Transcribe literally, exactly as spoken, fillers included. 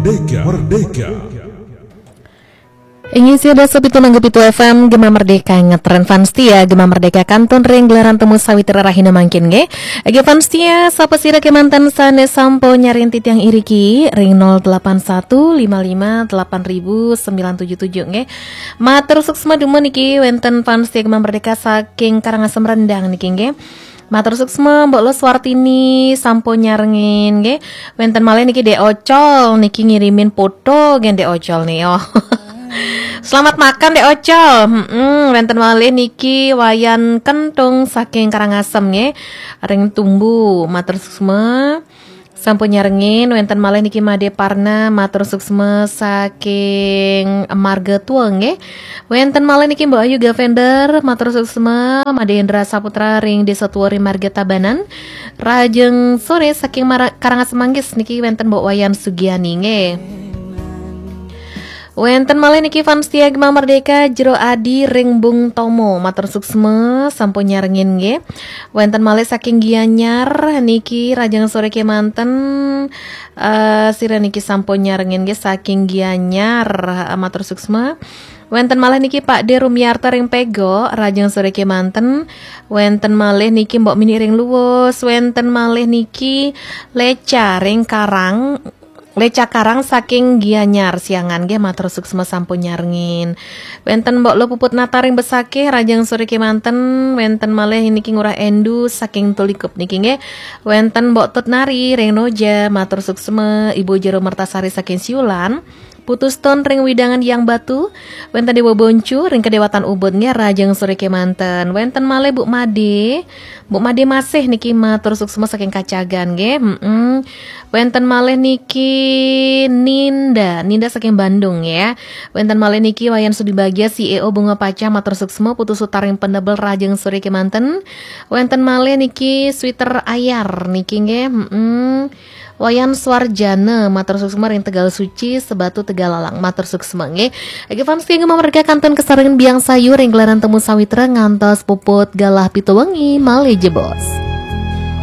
Merdeka, Merdeka. Inggih, sia dasa pitu nanggu pitu F M, Gema Merdeka ngetren fans setia, Gema Merdeka kantun ring gelaran temu sawitra rahina mangkin nggih. Nggih fans setia, sapa sira kemanten sane sampun nyarengin titiang iriki ring nol delapan satu lima lima delapan ribu sembilan tujuh tujuh nggih. Matur suksma dumun niki wenten fans setia Gema Merdeka saking Karangasem Rendang niki nggih. Matur suksma, Mbok Lo Suartini sampun nyarengin nggih. Wenten malih niki Dek Ocol niki ngirimin foto nggih Dek Ocol nih. Oh. Selamat makan Dek Ocol. Mm-mm, wenten malih niki Wayan Kentung saking Karangasem nggih. Ring Tumbu, matur suksma. Sampun nyarengin, wenten malih niki Made Parna, matur suksma saking Marga Tua nggih. Wenten malih niki Mbok Ayu Gavender, matur suksma, Made Hendra Saputra ring Desa Tua ring Marga Tabanan. Rahajeng sore saking Mara-, Karangasem Manggis niki wenten Mbok Wayan Sugiani nggih. Wenten malih niki fans setia Gema Merdeka Jero Adi ring Bung Tomo, matur suksma sampun nyarengin nggih. Wenten malih saking Gianyar niki rahajeng sore kemanten, eh, sira niki sampun nyarengin nggih saking Gianyar, eh, matur suksma. Wenten malih niki Pak De Rumiarto ring Pego, rahajeng sore kemanten. Wenten malih niki Mbok Mini ring Luwus, wenten malih niki Leca ring Karang, Leca Karang saking Gianyar Siangan nggih, matur suksma sampun nyarengin. Wenten Mbok Lo Puput Nata ring Besakih, rahajeng sore kemanten. Wenten malih niki Ngurah Endu saking Tulikup niki nggih. Wenten Mbok Tut Nari ring Noja, matur suksma. Ibu Jero Mertasari saking Siulan. Putus Ton ring Widangan Yang Batu, wenten Dewa Boncu ring Kedewatan Ubud nggih, rahajeng sore kemanten. Wenten malih Bu Made, Bu Made Masih niki matur suksma saking Kacagan nggih. Mm-mm. Wenten malih niki Ninda, Ninda saking Bandung ya. Wenten malih niki Wayan Sudi Bagia, C E O Bunga Paca, matur suksma. Putu Sutar ring Pendebel, rahajeng sore kemanten. Wenten malih niki Sweater Ayar niki nggih. Mm-mm. Wayan Suarjana, matur suksma ring Tegal Suci, Sebatu, Tegal Alang, matur suksma nggih. Nggih fans setia Gema Merdeka kantun kasarengin Biang Sayu ring gelaran temu sawitra ngantos puput galah pitu wengi malih jebos.